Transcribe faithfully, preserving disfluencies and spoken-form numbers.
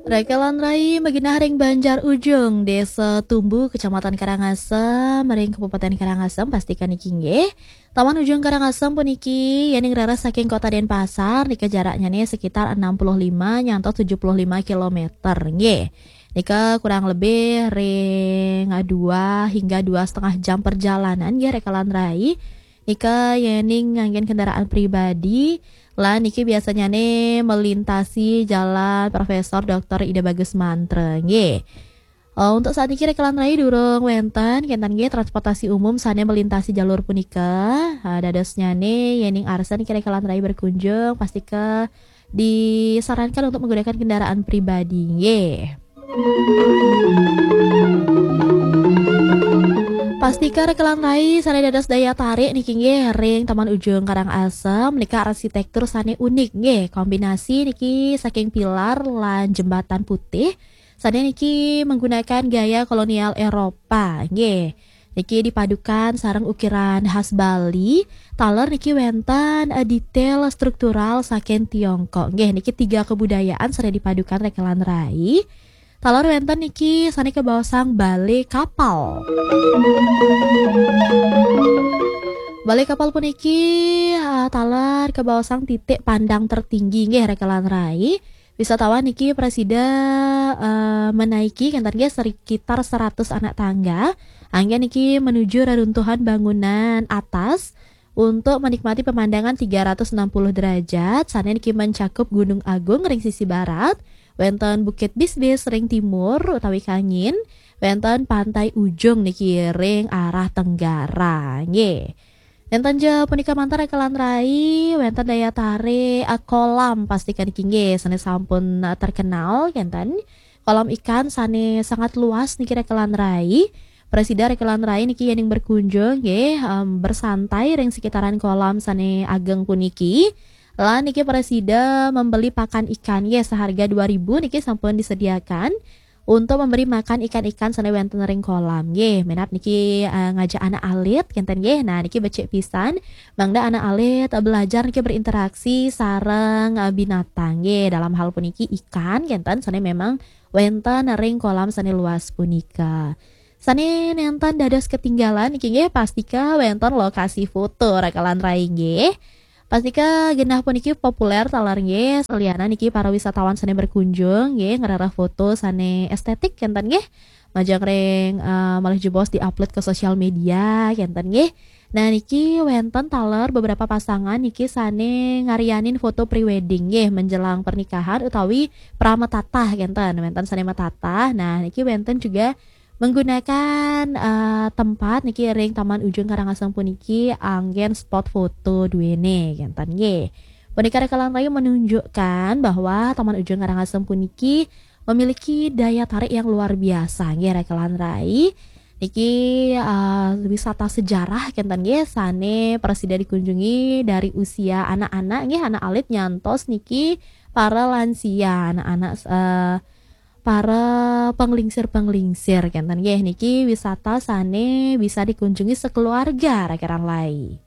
Rekelan rai magenah ring Banjar Ujung, Desa Tumbu, Kecamatan Karangasem, ring Kabupaten Karangasem, pastika niki nggih. Taman Ujung Karangasem puniki, yening raris saking Kota Denpasar, nika jaraknyane sekitar enam puluh lima nyantos tujuh puluh lima kilometer, nggih. Nika kurang lebih ring dua hingga dua setengah jam perjalanan, nggih, rekelan rai. Nika yening nganggen kendaraan pribadi, lan niki biasanyane melintasi Jalan Profesor Doktor Ida Bagus Mantra, nggih. Eh, untuk saat niki rekelan rai durung wenten, kenten nggih, transportasi umum sane melintasi jalur punika. Eh, dadosnyane yening arsa niki rekelan rai berkunjung, pastika disarankan untuk menggunakan kendaraan pribadi, nggih. Pastika rekelan rai sane dados daya tarik niki nggih ring Taman Ujung Karangasem, nika arsitektur sane unik nggih, kombinasi niki saking pilar lan jembatan putih, sane niki menggunakan gaya kolonial Eropa nggih. Niki dipadukan sareng ukiran khas Bali, taler niki wenten, eh, detail struktural saking Tiongkok nggih. Niki tiga kebudayaan sane dipadukan rekelan rai. Taler wenten niki sane kabaosang bale kapal. Bale kapal puniki, ah, taler kabaosang titik pandang tertinggi nggih rekelan rai. Wisatawan niki prasida, eh, menaiki kenten nggih sekitar seratus anak tangga. Anggen niki menuju reruntuhan bangunan atas untuk menikmati pemandangan tiga ratus enam puluh derajat, sane niki mencakup Gunung Agung ring sisi barat, wenten Bukit Bisbis ring timur utawi kangin, wenten Pantai Ujung niki ring arah tenggara. Nggih. Nenten ja punika mantar rekelan rai, wenten daya tarik, eh, kolam pastika niki nggih, sane sampun, eh, terkenal, kenten. Kolam ikan sane sangat luas niki rekelan rai. Prasida rekelan rai niki yening berkunjung nggih, em, bersantai ring sekitaran kolam sane ageng puniki. Lan niki prasida membeli pakan ikan nggih seharga dua ribu niki sampun disediakan untuk memberi makan ikan-ikan sane wenten ring kolam nggih. Minab niki, eh, ngajak anak alit kenten nggih. Nah, niki becik pisan mangda anak alit, eh, belajar niki berinteraksi sareng, eh, binatang nggih. Dalam hal puniki ikan kenten sane memang wenten ring kolam sane luas punika. Sane nenten dados ketinggalan niki nggih, pastika wenten lokasi foto rekelan rai nggih. Pastika genah puniki populer taler nggih, selianan niki para wisatawan sane berkunjung nggih, ngrereh foto sane estetik kenten nggih. Majeng ring, eh, malih jebos diupload ke sosial media kenten nggih. Nah, niki wenten taler beberapa pasangan niki sane ngarianin foto pre-wedding nggih menjelang pernikahan utawi pramatatah kenten. Wenten sane matatah. Nah, niki wenten juga menggunakan, eh, tempat niki ring Taman Ujung Karangasem puniki anggen spot foto duene kenten nggih. Punika rekelan rai menunjukkan bahwa Taman Ujung Karangasem puniki memiliki daya tarik yang luar biasa nggih rekelan rai. Niki, eh, wisata sejarah kenten nggih sane prasida dikunjungi dari usia anak-anak nggih, anak alit nyantos niki para lansia, anak-anak, eh, para penglingsir-penglingsir kenten nggih. Niki wisata sane bisa dikunjungi sekeluarga rekelan rai.